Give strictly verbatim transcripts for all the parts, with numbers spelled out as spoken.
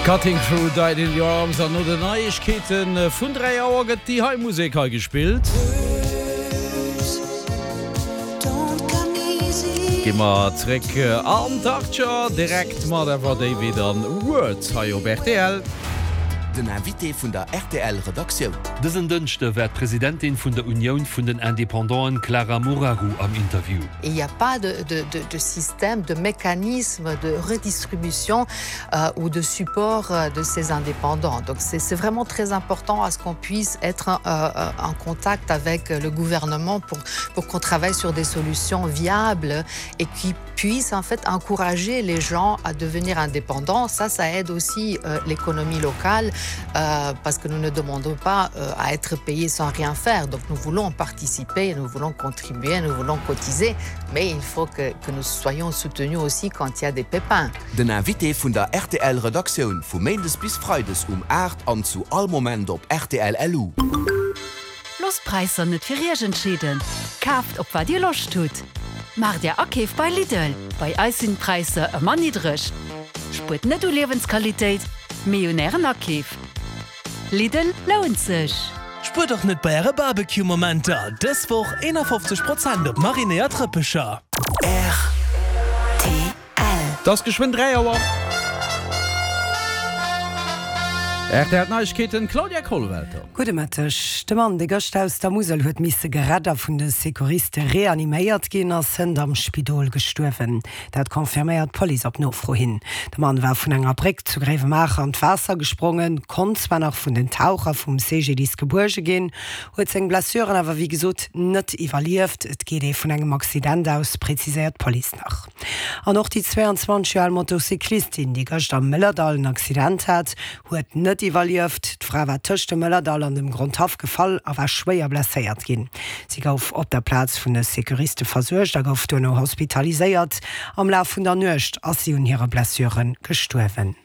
Cutting Crew, Died in Your Arms an no den Neiegkeete vun dräi Auer gëtt déi hei Musek hei gespillt. Gi mer zréck an d'Achtger, direkt mat Ever David an Words hei op rtl. Den Invité vun der rtl Redaktioun. Dësen Dënschde war d'Presidentin vun der Unioun vun den Independanten Clara Moraru am Interview. Il n'y a pas de, de, de, de système, de mécanisme de redistribution euh, ou de support euh, de ces indépendants. Donc c'est vraiment très important à ce qu'on puisse être euh, euh, en contact avec le gouvernement pour, pour qu'on travaille sur des solutions viables et qui puissent en fait encourager les gens à devenir indépendants. Ça, ça aide aussi euh, l'économie locale euh, parce que nous ne demandons pas euh, à être payés sans rien faire. Donc nous voulons participer, nous voulons contribuer, nous voulons cotiser, mais il faut que, que nous soyons soutenus aussi quand il y a des pépins. Den Invité vun der rtl Redaktioun vu méindes bis freides um aacht an zu all Moment op rtl L U. Loosst d'Präisser net fir Iech entscheeden, kaaft op wat Dir Loscht hutt. Maacht Är Akeef bei Lidl, bei eis sinn d'Präisser ëmmer niddreg. Spuert net u Liewensqualitéit, mee un Ären Akeef. Lidl lount sech! Spuert och net bei äre Barbecue Momenter, dës Woch eenafofzeg Prozent op marinéiert Rëppecher. Rtl. Et ass geschwënn dräi Auer. Rtl Neiegkeeten, Claudia Kollwelter. Gudde Mëtteg. De Mann, dee gëscht aus der Musel huet misse gerett a vun de Secouriste reaniméiert ginn, ass hënt am Spidol gestuerwen. Dat confirméiert d'Police op Nofro hin. De Mann war vun enger Bréck zu Gréiwemaacher an d'Waasser gesprongen, konnt zwar nach vun den Taucher vum C G D I S gebuerge ginn, huet seng Blessuren awer wéi gesot net iwwerlieft. Et geet ee vun engem Accident aus, präziséiert d'Police nach. An och déi zwéianzwanzeg Joer al Motocyclistin, déi gëscht am Mëllerdall en Accident hat, huet net iwwerlieft. D'Fra war tëscht dem Mëllerdall an dem Grondhaff gefall a war schwéier blesséiert ginn. Si gouf op der Plaz vun de Secouriste versuergt a gouf duerno hospitaliséiert. Am Laf vun der Nuecht ass si un hire Blessure gestuerwen.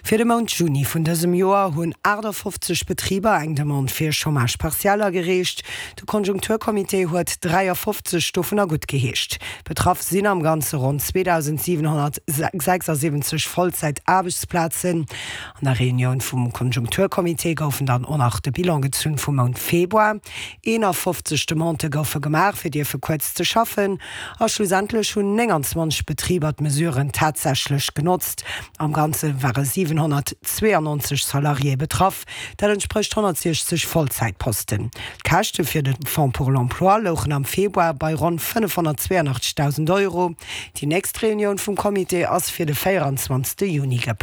Fir de Mount Juni vun dësem Joer hunn aachtafofzeg Betriber eng Demande fir Chômage partiel agereecht. De Konjunkturcomité huet dräiafofzeg dovunner guttgeheescht. Betraff sinn am Ganze ronn zweedausendsiwenhonnertsechsasiwwenzeg Vollzäit-Aarbechtsplazen. An der Reunioun vum Konjunkturcomité goufen dann och nach de Bilan gezunn vum Mount Februar. Eenafofzeg Demandë goufe gemaach, fir dierfe kuerz ze schaffen, a schlussendlech hunn nénganzwanzeg Betriber d'Mesuren tatsächlech genotzt. Am Ganze ware siwenhonnertzweeanonzeg Salariéë betraff, dat entsprécht honnertsiechzeg Vollzäitposten. D'Käschte fir de Fonds pour l'emploi louchen am Februar bei ronn fënnefhonnertzweeanachtzegdausend Euro. Déi nächst Reunioun vum Comité ass fir de véieranzwanzegste Juni geplangt.